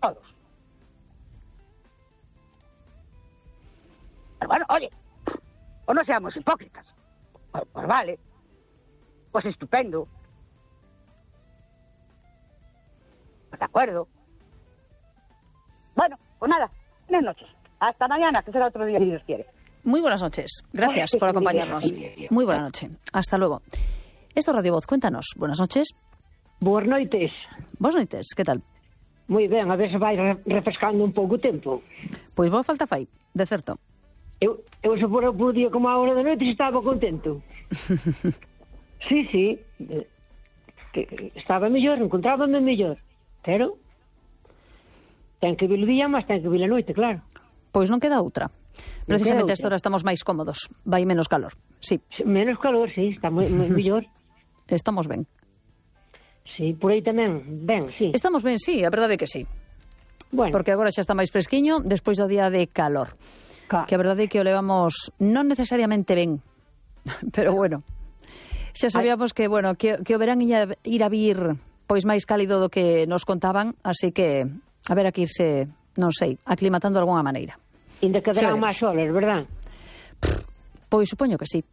todos. Pero bueno, oye, o no seamos hipócritas. Pues vale, pues estupendo. Pues de acuerdo. Bueno, pues nada, buenas noches. Hasta mañana, que será otro día si Dios quiere. Muy buenas noches. Gracias por acompañarnos. Muy buena noche. Hasta luego. Esto es Radio Voz. Cuéntanos. Buenas noches. Boas noites. Boas noites. Que tal? Moi ben, a ver se vai refrescando un pouco o tempo. Pois boa falta fai, de certo. Eu se fora por día como a hora da noite estaba contento. Sí, que estaba mellor, encontrábame mellor. Pero ten que vir o día, mas ten que vir a noite, claro. Pois non queda outra. Precisamente a esta hora estamos máis cómodos. Vai menos calor, sí. Menos calor, sí, está moi mellor. Estamos ben. Sí, por aí tamén, ben, sí. Estamos ben, sí, a verdade é que sí. Bueno. Porque agora xa está máis fresquiño despois do día de calor. Que a verdade é que o levamos non necesariamente ben, pero bueno. Xa sabíamos que, bueno, que o verán ir a vir pois máis cálido do que nos contaban, así que a ver aquí irse, non sei, aclimatando de alguna maneira. Ainda quedarán máis horas, verdad? Pois supoño que sí.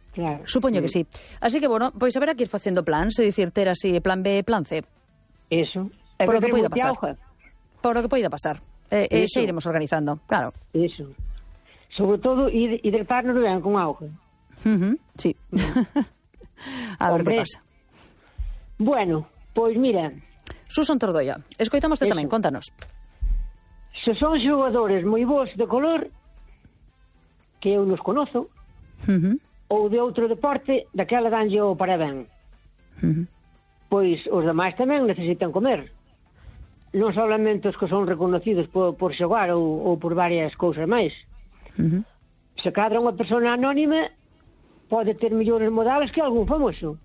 Claro. Supoño que sí. Así que, bueno, pois haberá que ir facendo plans, é dicir, ter así plan B, plan C. Eso. Por o que poida pasar. Por o que poida pasar. Xa iremos organizando, claro. Eso. Sobre todo, hidratarnos ben con auga. Sí. A ver que pasa. Bueno, pois mira... Susan Tordoia, escoitamoste tamén, contanos. Se son xogadores moi bons de color, que eu nos conozo, ou de outro deporte, daquela danlle o parabén. Pois os demais tamén necesitan comer. Non solamente os que son reconocidos por xogar ou por varias cousas máis. Se cadra unha persona anónima pode ter millores modales que algún famoso.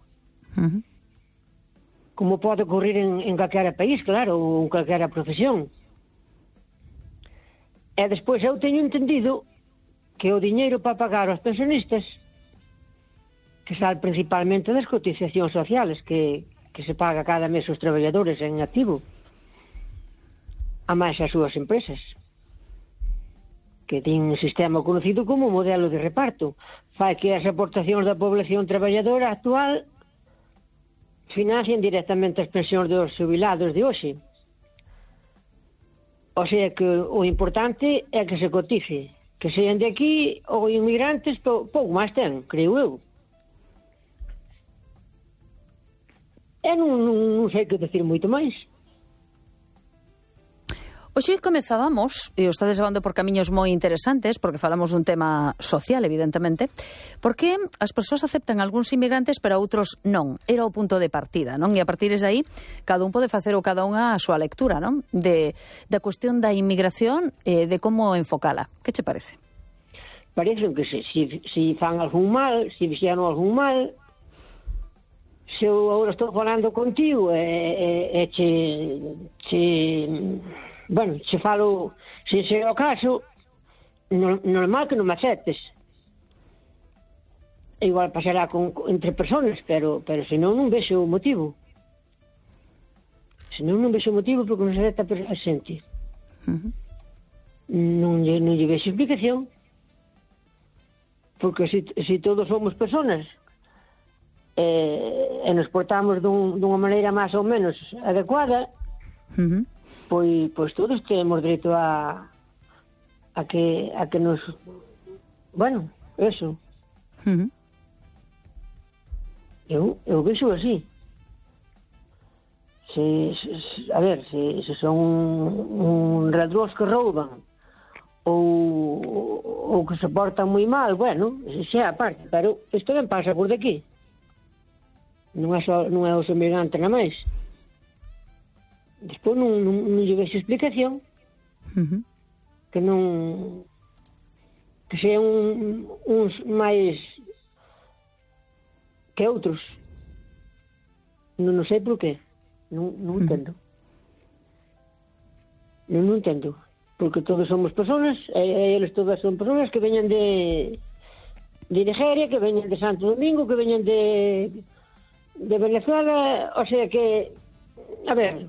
Como pode ocurrir en calquera país, claro, ou en calquera profesión. E despois eu teño entendido que o diñeiro para pagar aos pensionistas, que sale principalmente das cotizacións sociales que se paga cada mes aos traballadores en activo, a máis as súas empresas, que ten un sistema conocido como modelo de reparto. Fai que as aportacións da población traballadora actual financien directamente as pensións dos xubilados de hoxe. O sea que o importante é que se cotice, que sean de aquí ou inmigrantes, pouco máis ten, creo eu. E non sei que decir moito máis. Hoxe comezábamos, e o estades levando por camiños moi interesantes, porque falamos dun tema social, evidentemente, porque as persoas aceptan algúns inmigrantes, pero outros non. Era o punto de partida, non? E a partir de aí, cada un pode facer ou cada unha a súa lectura, non? Da cuestión da inmigración e de como enfocala. Que che parece? Parece que se fan algún mal, se fixeron algún mal, se eu agora estou falando contigo e che falo, se é o caso, normal que non me aceptes. Igual pasará entre personas, pero senón non vexo o motivo. Senón non vexo o motivo porque non se acepta a xente. Non lle vexo explicación. Porque se todos somos personas e nos portamos dunha maneira máis ou menos adecuada, pois todos temos dereito a que nos... Bueno, eso. Eu vexo así. A ver, se son un ladróns que rouban ou que se portan moi mal, bueno, xa aparte, pero isto ben pasa por daqui. Non é os emigrantes na máis. Despois non lle vexo explicación. Que non... que sean uns máis que outros. Non sei por qué. Non entendo. Non entendo. Porque todos somos personas, e eles todas son personas que veñan de Nigeria, que veñan de Santo Domingo, que veñan de Venezuela, o sea que, a ver,